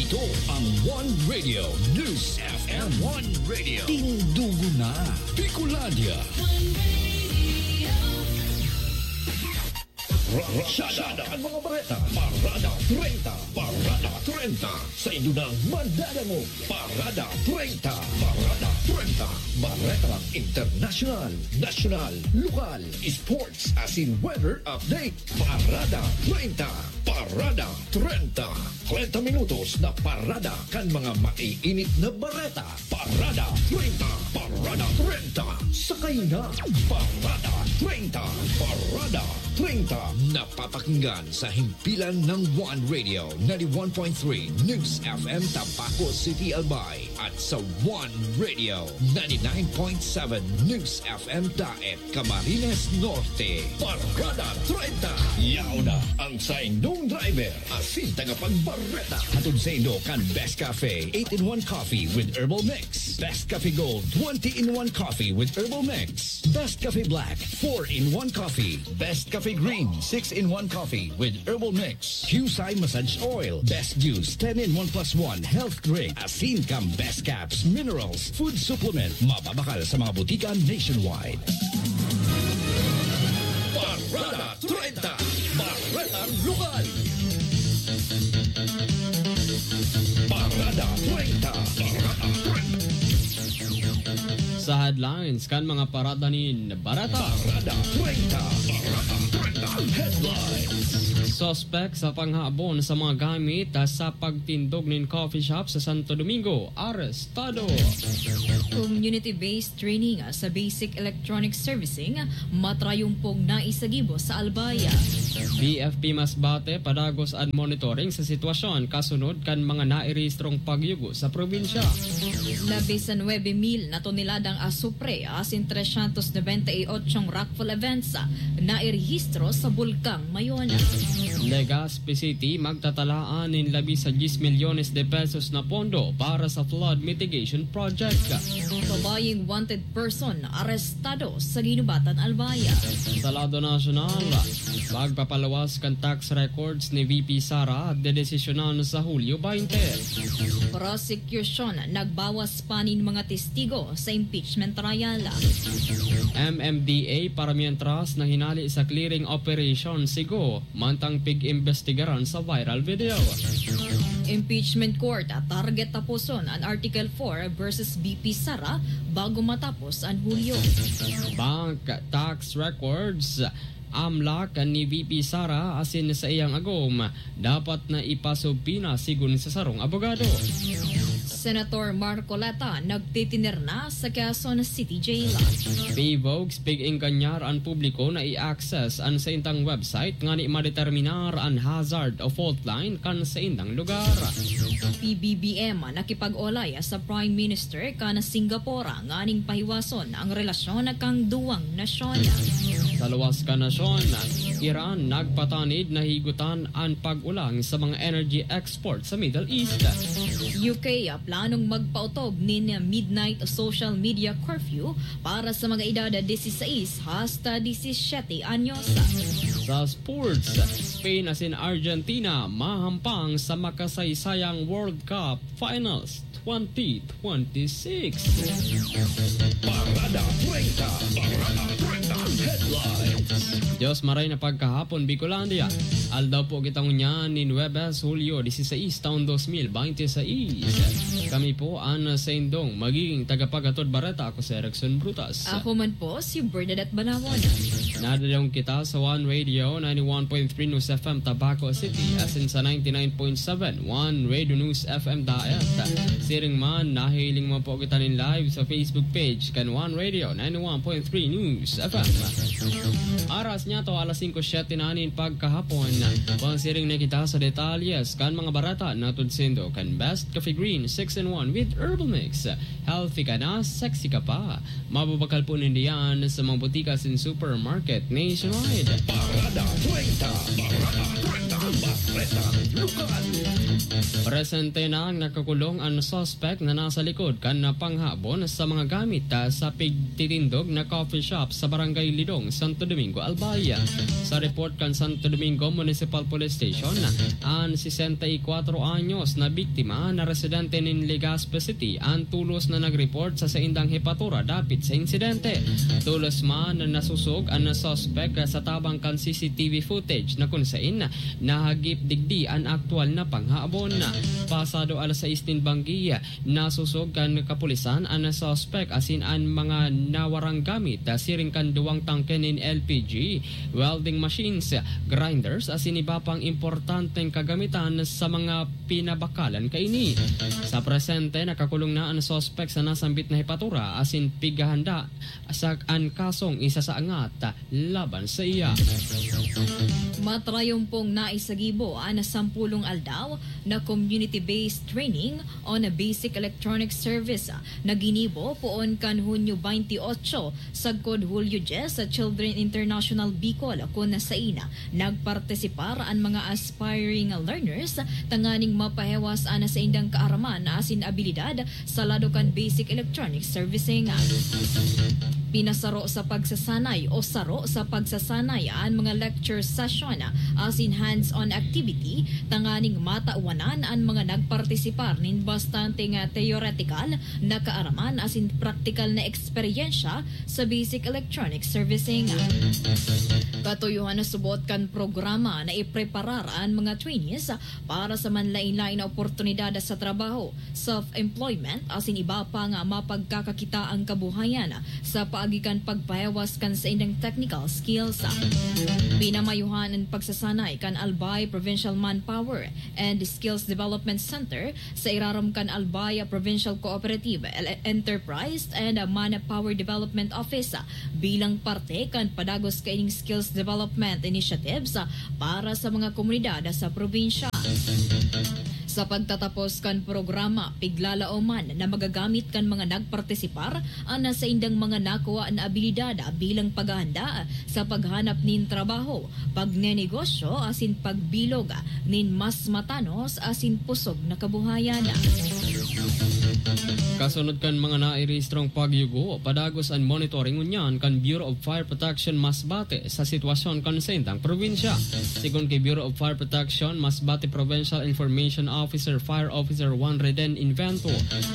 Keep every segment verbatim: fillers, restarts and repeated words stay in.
Ito ang One Radio News F M. One Radio. Tindugo na, Bicolandia. One Radio. Ra-, ra-, Rasyada ang mga bareta. Parada treinta. Parada treinta. Sa Indunang Madadangog. Parada treinta. Parada treinta. Baretang internasyonal, nasyonal, lokal, sports, asin weather update. Parada treinta. Parada treinta. Treinta minutos na parada kan mga maiinit na bareta. Parada treinta. Parada treinta. Sakay na. Parada treinta. Parada treinta. Napapakinggan sa himpilan ng One Radio, ninety-one point three News F M Tabaco City, Albay, at sa One Radio, ninety-nine point seven News F M Daet, Camarines Norte. Parada treinta. Yaon na ang saindong driver asin tagapagbareta. Hatod saindo kan Best Cafe, eight-in-one Coffee with Herbal Mix. Best Cafe Gold, twenty-in-one Coffee with Herbal Mix. Best Cafe Black, four-in-one Coffee. Best Cafe Green, six-in-one Coffee with Herbal Mix. Qcye Massage Oil, Best Juice, ten-in-one plus one Health Drink. Asin kan Best Caps, Minerals, Food Supplement. Mababakal sa mga butika nationwide. Parada treinta. Baretang lokal. Parada treinta. Parada treinta. Sa headlines kan mga parada nin bareta. Parada treinta. Parada treinta. Headlines. Suspek sa panghabon sa mga gamit sa pagtindog nin coffee shop sa Santo Domingo, arestado. Community-based training sa basic electronic servicing, matrayumpog na isagibo sa Albay. B F P Masbate padagos an monitoring sa sitwasyon kasunod kan mga nairehistrong pagyugo sa probinsya. Labis na nuebe mil na toneladang asupre asin trescientos noventa y ocho rockfall events na irehistro sa Bulkang Mayon. Legazpi City magtatalaan nin labi sa diyes milyones de pesos na pondo para sa flood mitigation project. Babayeng wanted person arestado sa Guinobatan, Albay. Sa lado nasyonal, magpapaluwas kan tax records ni V P Sara, dedesisyonan sa Hulyo baynte. Prosecution nagbawas pa nin mga testigo sa impeachment trial. M M D A para mientras na hinali sa clearing operation si Go mantang pig-imbestigaran sa viral video. Impeachment Court, target taposon an Article four versus V P Sara bago matapos an Hulyo. Bank tax records, amlak ni V P Sara asin sa iyang agom, dapat na ipasubpina sigon sa sarong abogado. Senator Marcoleta nagtitinerna sa Quezon City Jail. Pavogs, pig-engganyar an publiko na i-access an saindang website ngani madeterminar an hazard o fault line kan saindang lugar. P B B M nakipag-olay sa Prime Minister kan Singapore nganing pahiwason ang relasyon kan duwang nasyon. Sa luwas kan nasyon, Iran nagpatanid na higutan an pag-ulang sa mga energy export sa Middle East. U K planong magpaotob nin midnight social media curfew para sa mga edad disisais hasta disisiyete anyos. Sa sports, Spain asin Argentina mahampang sa makasaysayang World Cup Finals twenty twenty-six. Parada treinta. Parada treinta. Headlines. Dios maray na pagkahapon, Bicolandia. Aldaw po kita ngunyan nin Huwebes, Hulyo dieciséis, taon dos mil veintiséis. Kami po an saindong magiging tagapaghatod bareta. Ako si Erickson Brutas. Ako man po si Bernadette Banawon. Nadadangog kita sa One Radio ninety-one point three News F M Tabaco City, asin sa ninety-nine point seven One Radio News F M Daet. Siring man, nahihiling mo po kita nin live sa Facebook page kan One Radio ninety-one point three News F M. Aras niya to, alas singko siyete na nin pagkahapon. Pangsiring na kita sa detalyes kan mga bareta na tudsindo kan Best Coffee Green six-in-one with Herbal Mix. Healthy ka na, sexy ka pa. Mababakal po ninda yan sa mga butika asin supermarket nationwide. Parada treinta. Parada treinta. Presentang Lokal. Presente na ang nakakulong an suspek na nasa likod kan panghabon sa mga gamit, ah, sa pigtitindog na coffee shop sa Barangay Lidong, Santo Domingo, Albay. Sa report kan Santo Domingo Municipal Police Station, an sesenta y kwatro anyos na biktima na residente nin Legazpi City an tulos na nag-report sa saindang hepatura dapit sa insidente. Tulos man na nasusog an suspek sa tabang kan C C T V footage na kun sain nahagip digdi an aktual na panghabon. Pasado alas sais nin banggi, nasusog kan kapulisan an suspek asin an mga nawarang gamit, siring kan duwang tangke nin L P G, welding machines, grinders asin iba pang importanteng kagamitan sa mga pinabakalan kaini. Sa presente, nakakulong na an suspek sa nasambit na hepatura asin pighahanda sa an kasong isasaangat laban saiya. Matrayumpong naisagibo an sampulong aldaw na community-based training on a basic electronic service na ginibo poon kan Hunyo twenty-eight sagkod Hulyo diyes sa Children International Bicol, kun sain nagpartisipar an mga aspiring learners tanganing mapahewas an saindang kaaraman asin abilidad sa lado kan basic electronic servicing. Pinasaro sa pagsasanay o saro sa pagsasanay an mga lecture session asin hands-on activity tanganing matawanan an mga nagpartisipar nin bastante nga theoretical na kaaraman asin praktikal na eksperyensya sa basic electronic servicing. Katuyohan na subot kan programa na ipreparar an mga trainees para sa manlain-lain na oportunidad sa trabaho, self-employment, asin iba pa nga mapagkakakitaang kabuhayan sa paagi kan pagpahewas kan saindang technical skills. Pinamayuhan an pagsasanay kan Albay Provincial Manpower and Skills Development Center sa irarom kan Albay Provincial Cooperative Enterprise and Manpower Development Office bilang parte kan padagos kaining skills development initiatives para sa mga komunidad sa probinsya. Sa pagtatapos kan programa, piglalaoman na magagamit kan mga nagpartisipar an saindang mga nakuha na abilidad bilang paghahanda sa paghanap nin trabaho, pagnenegosyo asin pagbilog nin mas matanos asin pusog na kabuhayan. Kasunod kan mga nairehistrong pagyugo, padagos an monitoring ngunyan kan Bureau of Fire Protection Masbate sa sitwasyon kan saindang probinsya. Sigon ki Bureau of Fire Protection Masbate Provincial Information Officer Fire Officer Juan Reden Invento,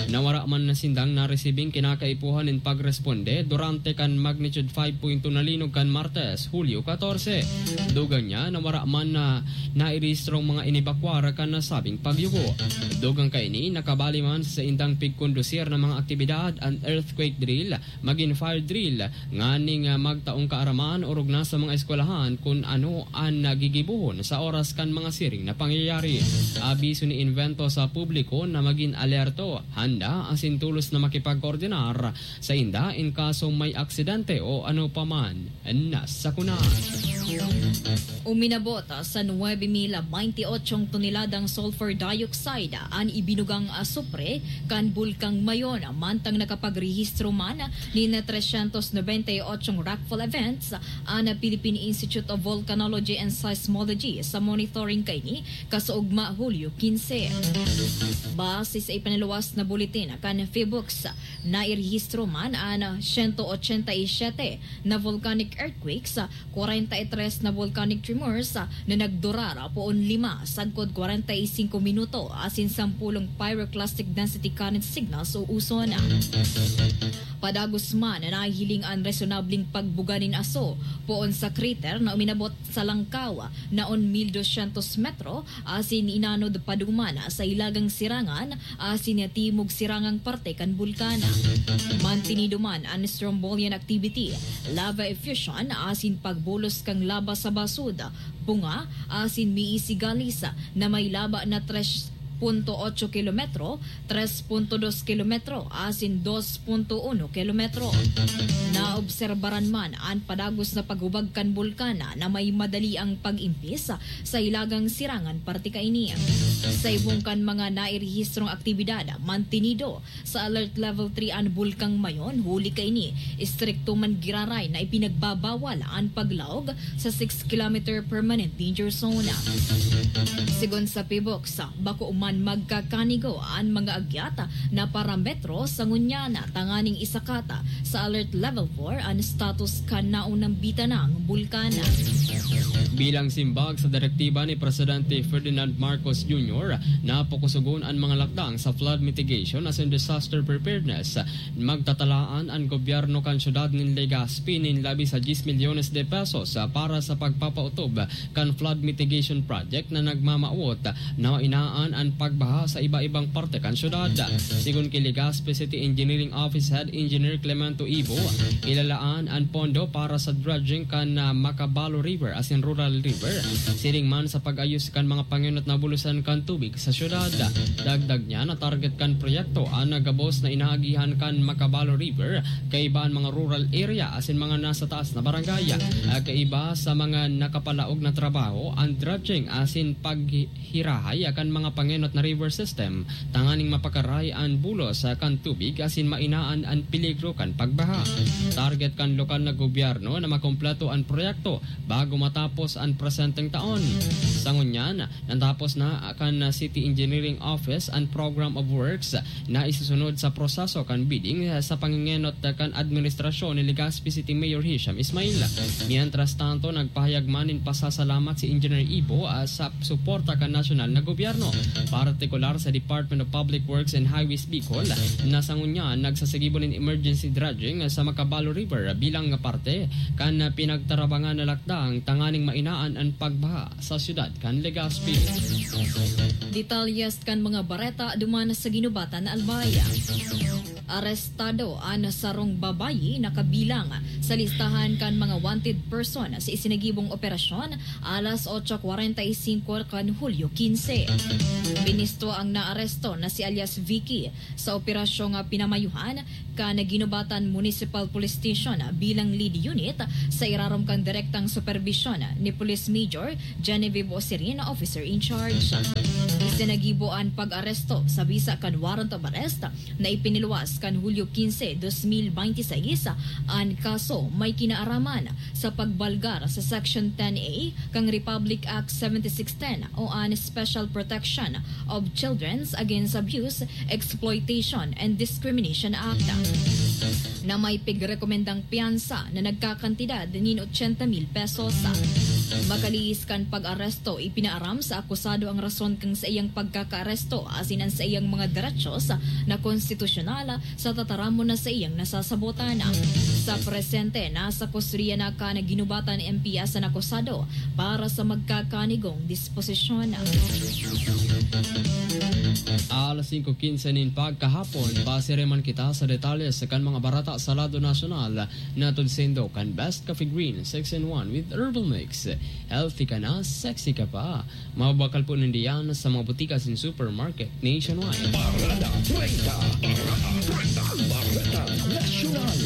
na wara man na sindang naresibing kinakaipuhan nin pagresponde durante kan magnitude five point two na linog kan Martes, Hulyo katorse. Dugang niya na wara man na nairehistrong mga inibakwar kan nasabing pagyugo. Dugang kaini, nakabali man sa saindang pigkondusir na mga aktibidad an earthquake drill, magin fire drill, nganing, ah, magtaong kaaraman orog na sa mga eskwelahan kun ano an nagigibohon sa oras kan mga siring na pangyayari. Abiso ni Invento sa publiko na magin alerto, handa asin tolos na makipagkoordinar sainda in kasong may aksidente o ano pa man na sakuna. Uminabot sa nuebe mil baynte otsong toneladang sulfur dioxide an ibinugang asupre kan Bulkang Mayon, mantang nakapagrehistro man nin trescientos noventa y ocho rockfall events an Philippine Institute of Volcanology and Seismology sa monitoring kaini kasaugma Hulyo kinse. Base sa ipinaluwas na buletin kan PHIVOLCS, nairehistro man an siyento ochenta y siyete na volcanic earthquakes, kwarenta y tres na volcanic tremors na nagdurar poon lima sagkod kwarenta y singko minuto asin sampolong pyroclastic density current signals o uson. Padagos man na nahihiling an resonableng pagbuga nin aso poon sa crater na uminabot sa langkaw na on mil doscientos metro asin inanod paduman sa hilagang sirangan asin timog sirangang parte kan bulkan. Mantinido man an strombolian activity, lava effusion asin pagbulos kan laba sa basud, bunga asin miisigalis na may laba na tres punto otso kilometro, tres punto dos kilometro asin dos punto uno kilometro. Naobserbaran man an padagos na paghubag kan bulkan na may madali ang pag-impis sa hilagang Sirangan parte kaini. Sa ibong kan mga nairehistrong aktibidad, mantinido sa Alert Level three an Bulkang Mayon, huli kaini, istrikto man giraray na ipinagbabawal an paglaog sa six kilometer permanent danger zone. Sigon sa PHIVOLCS, bako man magkakanigo an mga agyat na parametro sa ngunyan tanganing isakat sa Alert Level four an status kan naunang bitanang bulkan. Bilang simbag sa direktiba ni Presidente Ferdinand Marcos Junior, napokosogon an mga lakdang sa flood mitigation asin disaster preparedness. Magtatalaan an gobyerno kan syudad nin Legazpi nin labi sa diyes milyones de pesos para sa pagpapautob kan flood mitigation project na nagmamawot na mainaan an pagbaha sa iba-ibang parte kan syudad. Sigon ki Legazpi City Engineering Office Head Engineer Clemento Ibo, ilalaan an pondo para sa dredging kan, ah, Macabalo River asin Rural River, siring man sa pag-ayos kan mga pangenot na bulosan kan tubig sa syudad. Dagdag niya na target kan proyekto an gabos na inaagihan kan Macabalo River, kaiba an mga rural area asin mga nasa taas na barangay. Ah, kaiba sa mga nakapalaog na trabaho, ang dredging asin paghirahay kan mga pangenot na river system tanganing mapakaray an bulos kan tubig asin mainaan an peligro kan pagbaha. Target kan lokal na gobyerno na makompleto an proyekto bago matapos an presenteng taon. Sa ngunyan, natapos na kan City Engineering Office an Program of Works na isusunod sa proseso kan bidding sa pangengenot kan administrasyon ni Legazpi City Mayor Hisham Ismail. Mientras tanto, nagpahayag man nin pasasalamat si Engineer Ibo, ah, sa suporta kan nasyonal na gobyerno, partikular sa Department of Public Works and Highways Bicol, na sa ngunyan nagsasagibo nin emergency dredging sa Macabalo River bilang parte kan pinagtarabangan na lakdang tanganing mainaan an pagbaha sa siyudad kan Legazpi. Detalyes kan mga bareta duman sa ginubatan na Albay. Arestado an sarong babayi na kabilang sa listahan kan mga wanted person sa isinagibong operasyon alas otso kwarenta y singko kan Hulyo kinse. Binisto ang naaresto na si alias Vicky sa operasyong pinamayuhan kan Guinobatan Municipal Police Station bilang lead unit sa irarom kan direktang superbisyon ni Police Major Genevieve Osirin, officer in charge. Isinagibo an pag-aresto sa bisa kan warrant of arrest na ipiniluwas kan Hulyo kinse, dos mil bente y seis. An kaso may kinaaraman sa pagbalgar sa Section ten A kan Republic Act seventy-six ten o an Special Protection of Children's Against Abuse, Exploitation and Discrimination Act, na may pigrekomendang piyansa na nagkakantidad nin ochenta mil pesos. Makalihis kan pag-aresto, ipinaaram sa akusado ang rason kan saiyang pagkakaaresto asin an saiyang mga derechos na konstitusyonal sa tataramon na saiyang nasasabotan. Sa presente, nasa kustodiya na kan Guinobatan M P S an akusado para sa magkakanigong disposisyon. Alas singko quince nin pagkahapon, pasiri man kita sa detalye sa kan mga barata sa lado nasyonal, hatod saindo kan Best Coffee Green six in one with Herbal Mix. Healthy ka na, sexy ka pa. Mabakal po nindiyan sa mga butika sin supermarket nationwide. Bareta treinta. Bareta treinta. Bareta Nasyonal.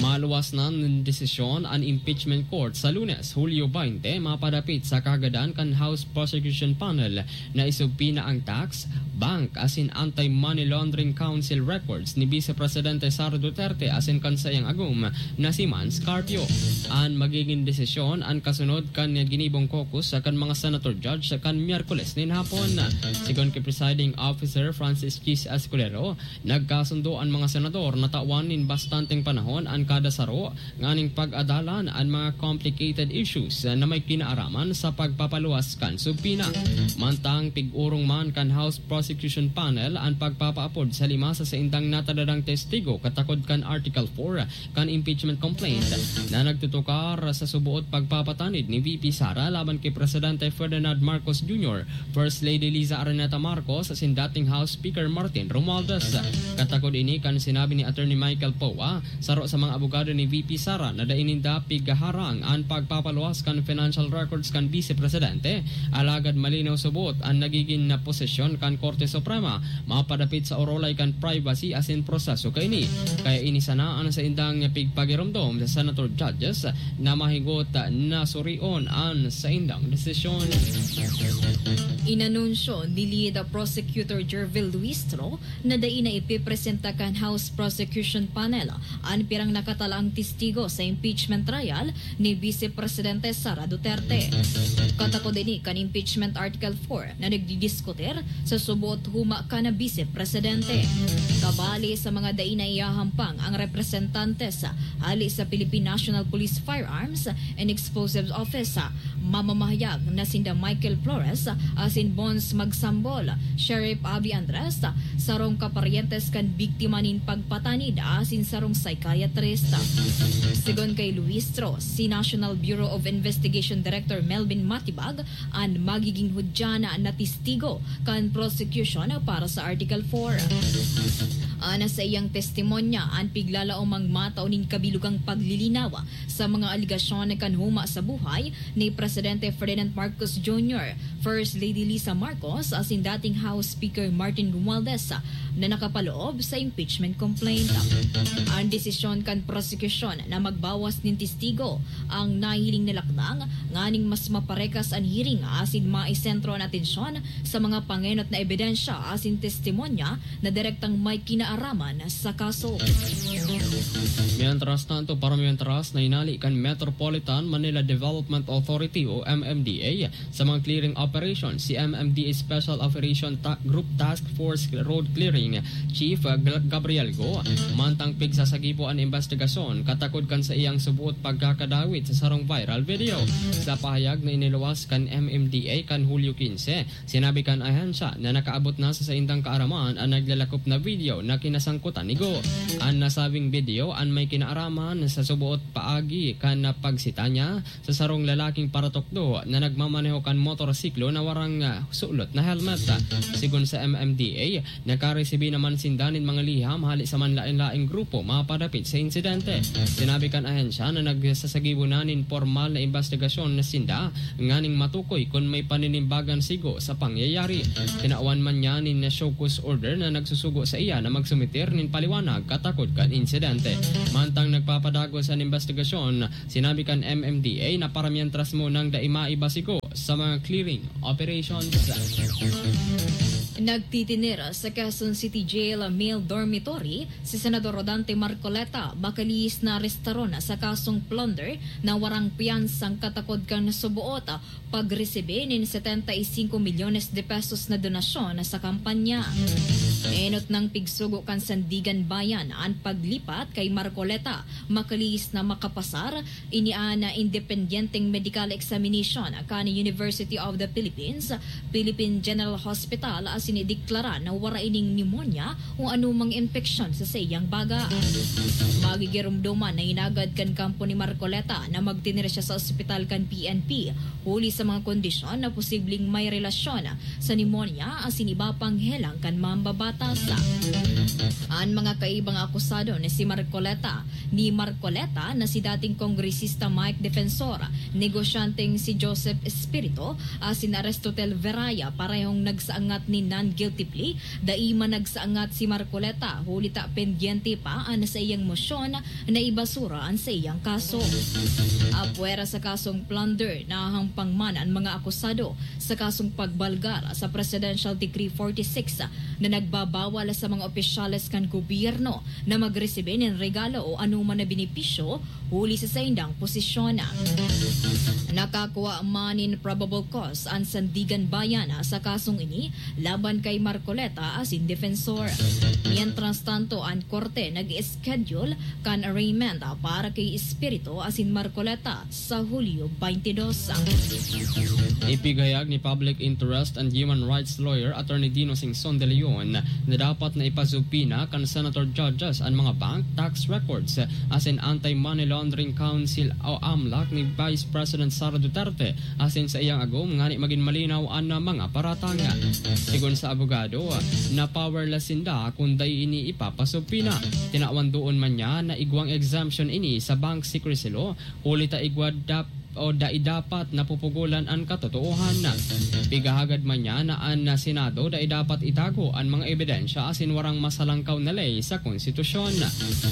Maluwas na nin desisyon an impeachment court sa Lunes, Hulyo bente, mapadapit sa kagadan kan House Prosecution Panel na isubpoena ang tax, bank asin Anti-Money Laundering Council records ni Vice Presidente Sara Duterte asin kan saiyang agom na si Mans Carpio. An magigin desisyon an kasunod kan ginibong caucus kan mga senator judge kan Miyerkules nin hapon. Sigon ki Presiding Officer Francis Chis Escudero, nagkasundo an mga senador na tawan nin bastanteng panahon an kada saro nganing pag-adalan an mga complicated issues na may kinaaraman sa pagpapaluwas kan subpoena. Mantang pig-orong man kan House Prosecution Panel an pagpapaapod sa lima sa saindang natadadang testigo katakod kan Article four kan impeachment complaint na nagtutukar sa suboot pagpapatanid ni V P Sara laban ki Presidente Ferdinand Marcos Junior, First Lady Liza Araneta Marcos asin dating House Speaker Martin Romualdez. Katakod ini kan sinabi ni Attorney Mike Michael Poa, saro sa mga abogado ni V P Sara, na dai ninda pigaharang an pagpapaluwas kan financial records kan Vice Presidente, alagad malinaw subot an nagigin na posisyon kan Korte Suprema mapadapit sa orolay kan privacy asin proseso kaini. Kaya ini sana an saindang pigpagiromdom sa senator judges na mahigot na surion an saindang desisyon. Inanunsyo ni Lead Prosecutor Jervil Luistro na dai na ipipresenta kan House Prosecution Panel an pirang nakatalaang testigo sa impeachment trial ni Vice Presidente Sara Duterte. Katakod ini kan Impeachment Article four na nagdidiskutir sa subot huma kan Vice Presidente. Kabali sa mga dai na iyahampang ang representantes hali sa Philippine National Police Firearms and Explosives Office, mamamahayag na sinda Michael Flores asin Bons Magsambol, Sheriff Avi Andres, sarong kaparyentes kan biktima nin pagpatanid asin sarong psychiatrist. Segun kay Luistro, si National Bureau of Investigation Director Melvin Matibag an magiging hudyan na testigo kan prosecution para sa Article four. Ana sa iyang testimonya, an piglalaomang matao nin kabilugang paglilinaw sa mga aligasyon kan huma sa buhay ni Presidente Ferdinand Marcos Junior, First Lady Lisa Marcos asin dating House Speaker Martin Romualdez na nakapaloob sa impeachment complaint. An desisyon kan prosekusyon na magbawas nin testigo ang nahihiling na lakdang nganing mas maparekas an hearing asin maisentro an atensyon sa mga pangenot na ebidensya asin testimonya na direktang may kinaaraman sa kaso. Mientras tanto, para mientras, nainali kan Metropolitan Manila Development Authority o M M D A sa mga clearing operation si M M D A Special Operation Ta- Group Task Force Road Clearing Chief, uh, Gl- Gabriel Go. Mantang pigsasagibo an investigasyon katakod kan saiyang subot pagkakadawit sa sarong viral video. Sa pahayag na iniluwas kan M M D A kan Hulyo quince, sinabi kan ahensya na nakaabot na sa saindang kaaraman an naglalakop na video na kinasangkutan ni Go. An nasabing video an may kinaaraman sa suboot paagi kan pagsita niya sa sarong lalaking paratukdo na nagmamaneho kan motorsiklo na warang, ah, sulot na helmet. Sigon sa M M D A, nakaresibi naman sinda nin mga liham hali sa manlaen-laeng grupo mapadapit sa insidente. Sinabi kan ahensya na nagsasagibo na nin pormal na imbestigasyon na sinda nganing matukoy kun may paninimbagan si Go sa pangyayari. Tinawan man niya nin show cause order na nagsusugo sa iya na magsumitir nin paliwanag katakod kan insidente. Mantang nagpapadagos an imbestigasyon, sinabi kan M M D A na para mientras munang dai maiba si Go sa mga clearing operations. Nagtitinir sa Quezon City Jail male dormitory si Senador Rodante Marcoleta, bakalihis na arestaron sa kasong plunder na warang piyansang katakod kan suboot pagresibi nin setenta y cinco milyones de pesos na donasyon sa kampanya. Enot nang pigsugo kan Sandigan Bayan an paglipat kay Marcoleta, makalihis na makapasar ini an independyenteng medical examination kan University of the Philippines, Philippine General Hospital asin ideklara na wara ining pneumonia o anumang impeksyon sa saiyang baga. Magigiromdoman na hinagad kan kampo ni Marcoleta na magtinir siya sa ospital kan P N P huli sa mga kondisyon na posibleng may relasyon sa pneumonia asin iba pang helang kan mambabatas. An mga kaibang akusado na si Marcoleta, ni Marcoleta na si dating Kongresista Mike Defensor, negosyanteng si Joseph Espirito, asin Aristotel Veraya, parehong nagsaangat nin non-guilty plea. Dai man nagsaangat si Marcoleta, huli ta pendyente pa an saiyang mosyon na ibasura an saiyang kaso. Apwera sa kasong plunder, nahahampang man an mga akusado sa kasong pagbalgar sa Presidential Decree forty-six na nagbabawal sa mga opisyales kan gobyerno na magresibi nin regalo o anoman na benepisyo huli sa saindang posisyon. Nakakua man nin probable cause an Sandigan Bayan sa kasong ini laban kay Marcoleta asin Defensor. Mientras tanto, an korte nag-schedule kan arraignment para kay Espirito asin Marcoleta sa Hulyo twenty-two. Ipinahayag ni Public Interest and Human Rights Lawyer Attorney Dino Singson de Leon na dapat na ipasubpoena kan senator judges an mga bank, tax records, asin Anti-Money Laundering Council o amlac ni Vice President Sara Duterte asin sa iyang agom ngani magin malinaw an mga paratang. Sigon sa abogado, na powerless sinda kun dai ini ipapasubpina. Tinawan doon man niya na igwang exemption ini sa bank secrecy law, huli ta igwa dap-, o dai dapat napupugolan an katotoohan. Pigahagad man niya na an Senado dai dapat itago an mga ebidensya asin warang masalangkaw na ley sa konstitusyon.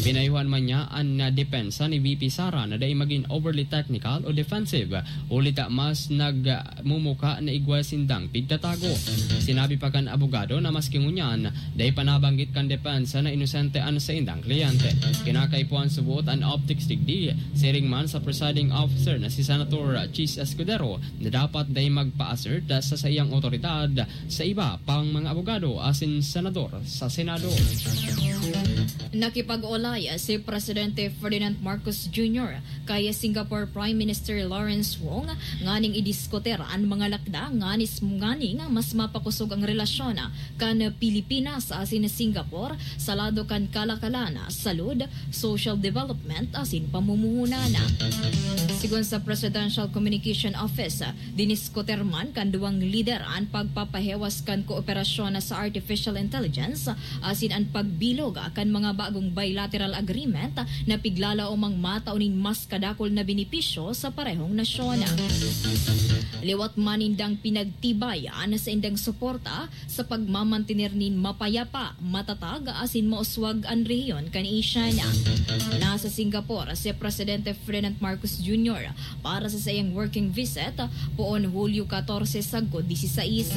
Pinayuhan man niya an depensa ni V P Sara na dai magin overly technical o defensive, huli ta mas nagmumuka na igwa sindang pigtatago. Sinabi pa kan abogado na maski ngunyan, dai pa nabanggit kan depensa na inosente an saindang kliyente. Kinakaipuhan subot an optics digdi, siring man sa presiding officer na si Senator Chiz Escudero na dapat dai magpa-assert sa saiyang otoridad sa iba pang mga abogado asin senador sa Senado. Nakipag-olay si Presidente Ferdinand Marcos Junior kay Singapore Prime Minister Lawrence Wong nganing idiskutir an mga lakda nganis-, nganing mas mapakosog ang relasyon kan Pilipinas asin Singapore sa lado kan kalakalan, salud, social development asin pamumuhunan. Sigon sa Presidential Communication Office, diniskutir man kan duwang lider an pagpapahiwas kan kooperasyon sa artificial intelligence asin an pagbilog kan mga bagong bilateral agreement na piglalaomang matao nin mas kadakul na benepisyo sa parehong nasyon. Liwat man nindang pinagtibay an saindang suporta sa pagmamantener nin mapayapa, matatag asin mauswag an rehiyon kan Asia. Nasa Singapore si Presidente Ferdinand Marcos Junior para sa saiyang working visit poon Hulyo katorse sagkod disisais.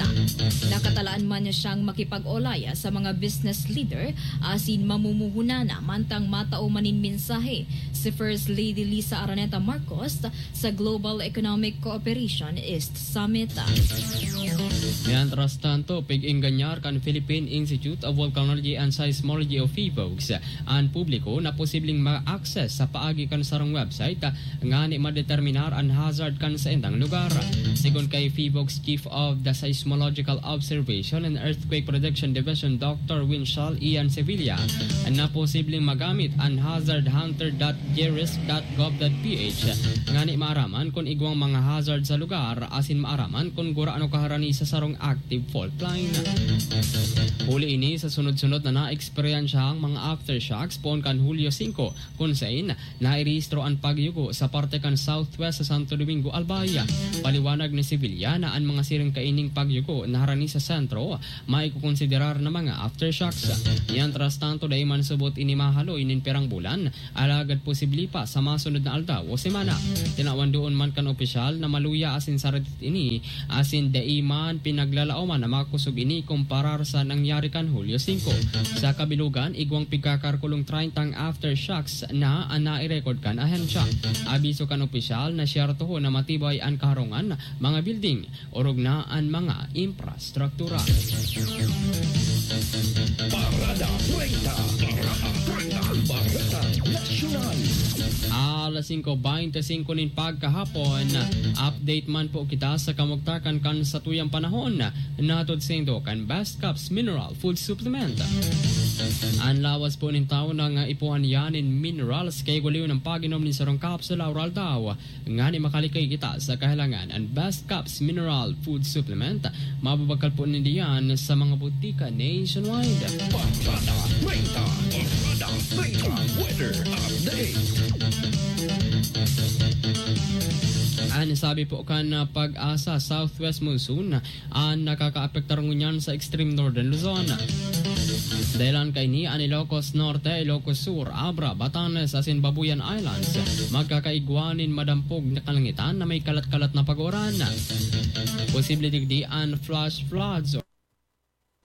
Nakatalaan man niya siyang makipag-olay sa mga business leader asin mamumuhunan mantang matao man nin mensahe si First Lady Liza Araneta Marcos sa Global Economic Cooperation East Summit. Mientras tanto, pig-engganyar kan Philippine Institute of Volcanology and Seismology o PHIVOLCS an publiko na posibleng ma-access sa paagi kan sarong website, ah, ngani madeterminar an hazard kan saindang lugar. Sigon kay PHIVOLCS Chief of the Seismological Observation and Earthquake Protection Division, Doctor Winchell Ian Sevilla, na posibleng magamit an hazard hunter dot gerisk dot gov dot P H ngani maaraman kun igwang mga hazard sa lugar asin maaraman kun gurano kaharani sa sarong active fault line. Huli ini sa sunod-sunod na naeksperyensyahang mga aftershocks poon kan Hulyo singko, kun sain nairehistro an pagyugo sa parte kan southwest sa Santo Domingo, Albay. Paliwanag ni Sevilla na an mga siring kaining pagyugo na harani sa sentro maikokonsiderar na mga aftershocks. Mientras tanto, dai man subot ini mahaloy nin pirang bulan, alagad posible pa sa masunod na aldaw o semana. Tinawan doon man kan opisyal na maluya asin saradit ini, asin dai man pinaglalaoman na makosog ini kumparar sa nangyari kan Hulyo singko. Sa kabilugan, igwang pigkakarkulong treyntang aftershocks na an nairekod kan ahensya. Abiso kan opisyal na siyerto na matibay an kaharungan, mga building, orog na an mga infrastruktura. Parada treinta. Parada treinta. Bareta Nasyonal. Alas singko beinti singko nin pagkahapon, update man po kita sa kamugtakan kan satuyang panahon. Nahatod saindo kan Best Caps Mineral Food Supplement. An lawas po nin tawo nangaipuhan niya nin minerals kay guli nin pag-inom nin sarong kapsula aroaldaw. Ngani makalikay kita sa kahilangan, an Best Caps Mineral Food Supplement, mababakal po ninda yan sa mga butika nationwide. Barada treinta, Barada treinta, weather update. An sabi po kan, ah, PAGASA, southwest monsoon an nakakaapektar ngunyan sa extreme northern Luzon. Dahelan kaini, an Ilocos Norte, Ilocos Sur, Abra, Batanes asin Babuyan Islands magkakaigwa nin madampog na kalangitan na may kalat-kalat na pag-uran. Posible digdi an flash floods